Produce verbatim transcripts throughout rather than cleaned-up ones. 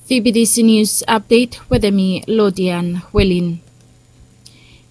Fibidisi nius apdet wetem mi, Lodian Welin.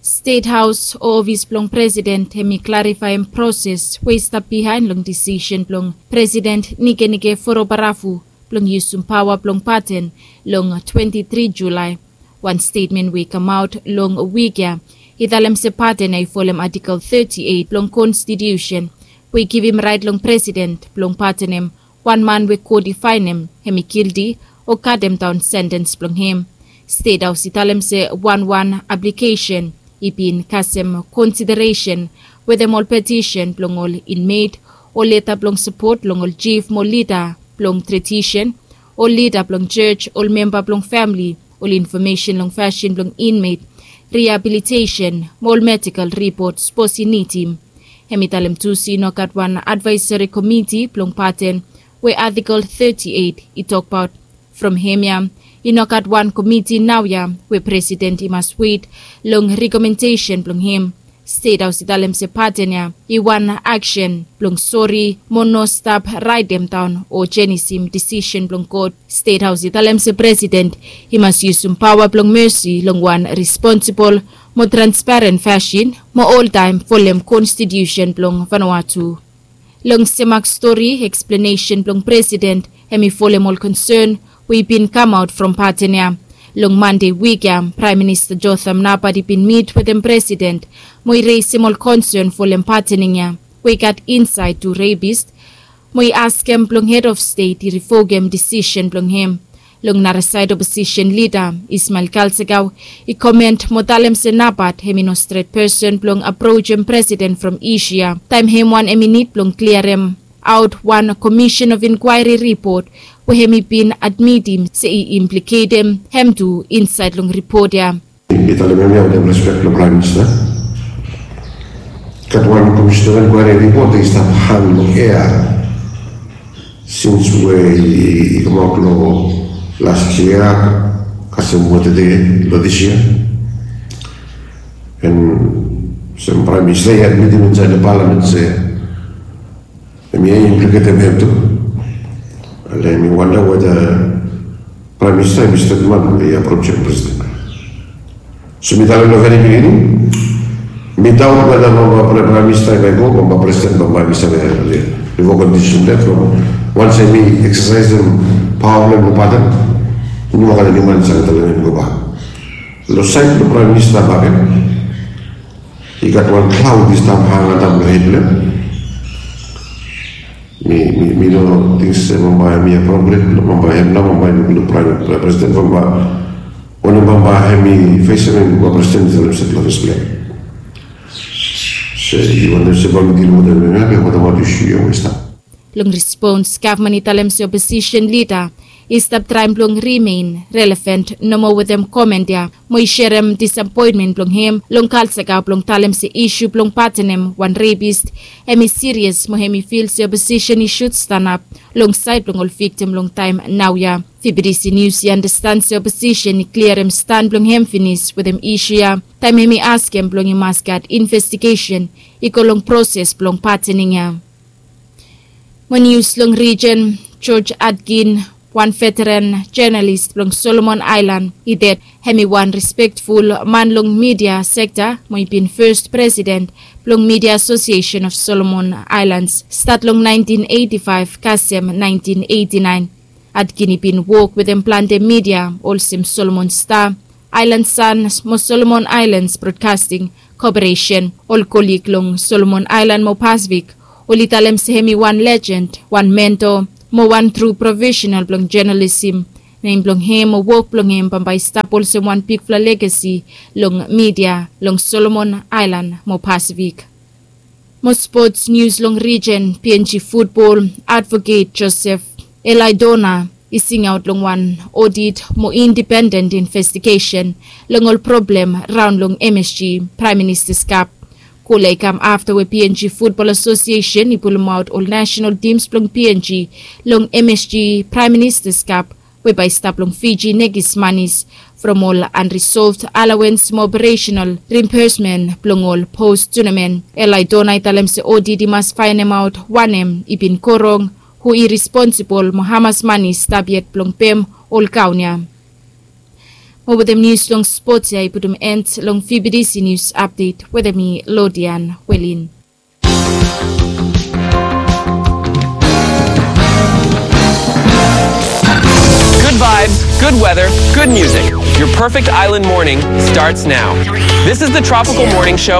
Stet Haos o ofis blong president hem i klarifaem proses we i stap bihaen long disisen blong president Nikenike Forobarafu blong yusum paoa blong paten long twenti tri Julae. Wan stetmen we i kamaot long wik ya i talem se paten ya i folem Atikel teti eit blong konstitiusen we i givim raet long president blong patenem wan man we kot i faenem hem i gilti o katemdaon sentens blong hem. Stet Haos i talem se wanwan aplikesen i bin kasem konsideresen wetem ol petisen blong ol inmet, ol leta blong sapot long ol jif mo lida blong tradisen, ol lida blong jos, ol memba blong famili, ol infomesen long fasin blong inmet, riabilitesen mo ol medikal ripot sapos i nidim. Hem i talem tu se i no gat wan advaeseri komiti blong paten we Atikel teti eit i tokbaot. From hem ya i no gat wan komiti naoia we president i mas wet long rekomendesen blong hem. Stet Haos i talem se paten ya i wan aksen blong sori mo no stap raetemdaon o jenisim disisen blong kot. Stet Haos i talem se president i mas yusum paoa blong mesi long wan responsibol mo transparen fasin mo oltaem folem konstitiusen blong Vanuatu. Long semak stori eksplenesen blong president hem i folem ol konsen we i bin kamaot from paten ya. Long Mande wik ya Praem Minista Jotham Napat i bin mit wetem president mo i resem ol konsen folem patening ya we i gat insaed tu repist mo i askem blong hed of stet i rivokem disisen blong hem. Long narasaed oposisen lida Ismael Kalsakau i koment mo talem se Napat hem i no stret pesen blong aprojem president from isu ya taem hem wan hem i nid blong kliarem aot wan komisen of inkwaeri ripot we hem i bin admitim se i impliketem hem tu insaed long ripot ya. Mi talem hemia wetem respek blong Praem Minista. Gat wan komisen of inkwaeri ripot i stap hang long ea sins we i kamaot long las yia kasem wetede long dis yia. An olsem Praem Minista i admitim insaed long palamen se hemia i impliketem hem tu. Ale mi wanda weda Praem Minista hem i stret man we i aprojem president. So mi talem long veri bigini mi daot weda bambae Praem Minista i bai go bambae president bambae mi save revok ol disisen blong hem from wans hem i eksasaesem paoa blong hem long paten. I no gat eniwan i save talem hem i gobak. Long saed blong Praem Minista bakegen i gat wan klaod i stap hang antap long hed blong hem. Mi mi mi no ting se bambae hem i apropret long bambae hem nao bambae i luk long Praem President bambae wanem bambae hem i fesem hem bambae president i talem se blong fes blong hem. Se i wantem se bae mi dilim wetem hem ya be wotemaot isu ya we i stap. Long respons gavman i talem se oposisen lida i stap traem blong rimen relevant nomo wetem koment ya mo i serem disapoentmen blong hem long Kalsakau blong talem se isu blong patenem wan repis hem i sirias mo hem i fil se oposisen i sud stanap long saed blong ol viktim long taem naoia. Fibidisi nius i andastan se oposisen i kliarem stan blong hem finis wetem isu ya taem hem i askem blong i mas gat investigesen i go long proses blong patening ya. Mo nius long rijen, George Atkin, wan veteran jonalis blong Solomon Aelan i ded. Hem i wan respektful man long midia sekta mo i bin fes presiden blong Midia Asosiesen of Solomon Aelans stat long naentin eiti faef kasem naentin eiti naen. Atkin i bin wok wetem plante midia olsem Solomon Sta, Aelan San mo Solomon Aelans Brodkasting Koporesen. Ol kolig long Solomon Aelan mo Pasifik oli talem se hem i wan lejen, wan mento mo wan tru profesenal blong jonalisim. Nem blong hem mo wok blong hem bambae i stap olsem wan bigfala legasi long midia long Solomon Aelan mo Pasifik. Mo spots nius long rijen, PNG futbol advoket Joseph Elaidona i singaot long wan odit mo indipenden investigesen long ol problem raon long MSG Praem Ministas Kap. Kol ya i kam afta we PNG Futbol Asosiesen i pulumaot ol nasenal tims blong PNG long MSG Praem Ministas Kap we bae i stap long Fiji nekis manis from ol anrisolved alawens mo operesenal rimbesmen blong ol pos tunamen. Elaidona i talem se odit i mas faenemaot wanem i bin go rong, hu i responsibol mo hamas mani i stap yet blong pem ol kaun ya. Mo wetem nius long spot ya i putum end long V B T C nius apdet wetem mi, Lodian Welin. Good vibes, good weather, good music. Your perfect island morning starts now. This is the Tropical Morning Show